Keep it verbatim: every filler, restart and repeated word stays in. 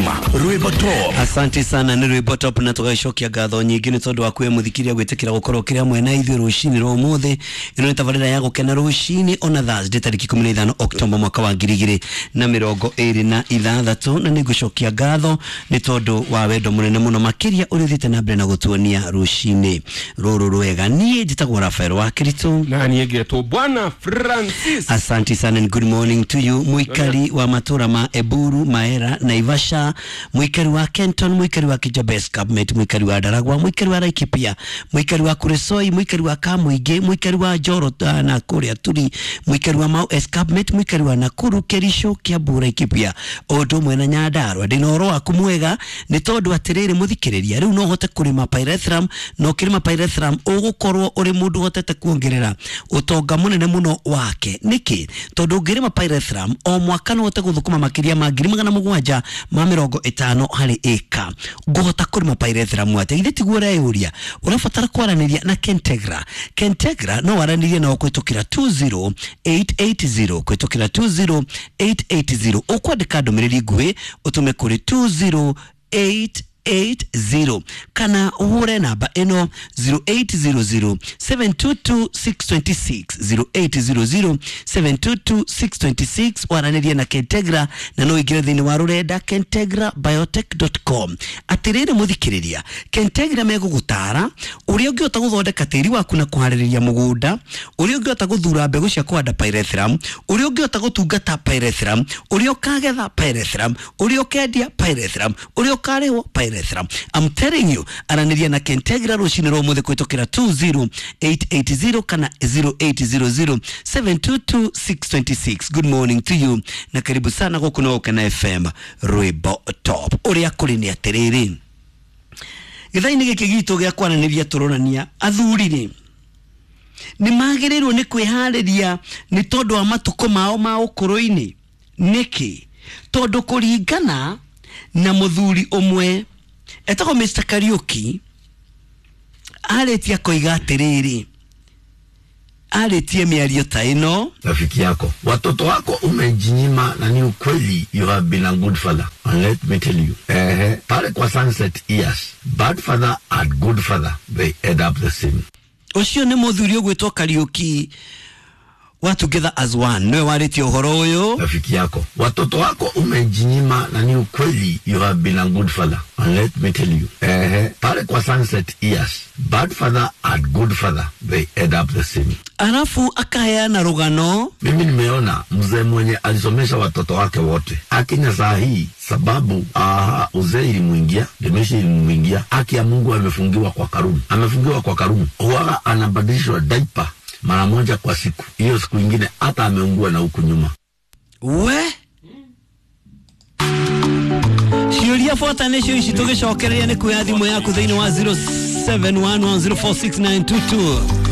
M Rwimbo Top. Asante sana nĩ Rwimbo Top, na tũgagĩcokia ngatho nyingĩ nĩ tondũ wa kwĩ mũthikĩria gwĩtĩkĩra gũkorwo kĩrĩ hamwe na ithuĩ rũcinĩ rwa ũmũthĩ. Ĩno nĩ tabarĩra ya gũkena rũcinĩ ona Thursday tarĩki ikũmi na ithano Oktoba mwaka wa ngiri igĩrĩ na mĩrongo ĩrĩ na ithathatũ, na nĩngũcokia ngatho nĩ tondũ wa wendo mũnene mũno makĩria ũrĩa ũthiĩte na mbere na gũtuonia rũcinĩ rũrũ rwega. Niĩ njĩtagwo Rafael wa Kĩritũ na niĩ ngetwo Bwana Francis. Asante sana and good morning to you mũikari wa matũra ma Eburu, Maera, Naivasha, mũikari wa Kenton, mũikari wa Kijabes Cabinet, mũikari wa Ndaragwa, mũikari wa Laikipia, mũikari wa Kuresoi, mũikari wa Kamuingĩ, mũikari wa Njoro na kũrĩa Turi, mũikari wa Mau Escarpment, mũikari wa Nakuru, Kericho, Kiambu, Laikipia, o ũndũ ũmwe na Nyandarua. Ndĩna ũhoro waku mwega nĩ tondũ atĩrĩrĩ mũthikĩrĩria, rĩu no ũhote kũrĩma pyrethrum, na ũkĩrĩma pyrethrum ũgũkorwo ũrĩ mũndũ ũhotete kuongerera ũtonga mũnene mũno wake. Nĩkĩ? Tondũ ũngĩrĩma pyrethrum o mwaka no ũhote gũthũkũma makĩria ma ngiri magana mũgwanja ma mĩrongo ĩtano harĩ ĩka. Ngũhota kũrĩma pyrethrum atĩa? Githĩ tiguo ũreyũria? Ũrabatara kwaranĩria na Kentegra. Kentegra no waranĩrie nao kũhĩtũkĩra two zero eight eight zero, kũhĩtũkĩra two zero eight eight zero. Ũkwandĩka ndũmĩrĩri nguhĩ ũtũme kũrĩ two zero eight eight zero kana ũhũre namba ĩno zero eight zero zero seven two two six two six, zero eight zero zero seven two two six two six. Waranĩrie na Kentegra na no ũingĩre thĩinĩ wa rũrenda kentegra biotech dot com. Atĩrĩrĩ mũthikĩrĩria, Kentegra megũgũtara ũrĩa ũngĩhota gũthondeka tĩri waku na kũharĩrĩria mũgũnda, ũrĩa ũngĩhota gũthura mbegũ cia kũhanda pyrethrum, ũrĩa ũngĩhota gũtungata pyrethrum, ũrĩa ũkagetha pyrethrum, ũrĩa ũkendia pyrethrum, ũrĩa ũkarĩhwo pyrethrum. I'm telling you, aranĩria na Kentegra rũcinĩ rwa ũmũthĩ kũhĩtũkĩra two zero eight eight zero kana zero eight zero zero seven two two six two six. Good morning to you na karibu sana gũkũ no Gũkena F M Rwimbo Top. Ũrĩa kũrĩ nĩ atĩrĩrĩ, gĩthaa-inĩ gĩkĩ gitũ gĩa kwaranĩria tũronania athuri rĩ nĩ magĩrĩirwo nĩ kwĩharĩria nĩ tondũ wa matukũ mao ma ũkũrũ-inĩ. Nĩkĩ? Tondũ kũringana na mũthuri ũmwe etagwo Mister Kariuki, arĩtie akoiga atĩrĩrĩ, arĩtie mĩario ta ĩno: rafiki yako, watoto wako umejinyima, na ni ukweli, you have been a good father, and let me tell you, eh, pale kwa sunset years, bad father and good father, they end up the same. Ũcio nĩ mũthuri ũgwĩtwo Kariuki wa Together as One, niwe warĩtie ũhoro ũyũ. Rafiki yako, watoto wako umejinyima, na ni ukweli, you have been a good father, and let me tell you, eh, pale kwa sunset years, bad father and good father, they end up the same. Alafu akaheana rugano. Mimi nimeona mzee mwenye alisomesha watoto wake wote, akinya saa hii sababu ah, uzee ilimuingia, dementia ilimuingia, haki ya Mungu amefungiwa kwa karumu, amefungiwa kwa karumu, huwa anabadilishwa diaper mara moja kwa siku. Hiyo siku nyingine hata ameungua na huku nyuma. We ciũria bota nĩcio ici tũgĩcokereria nĩ kuoya thimũ yaku thĩinĩ wa zero seven one one zero four six nine two two.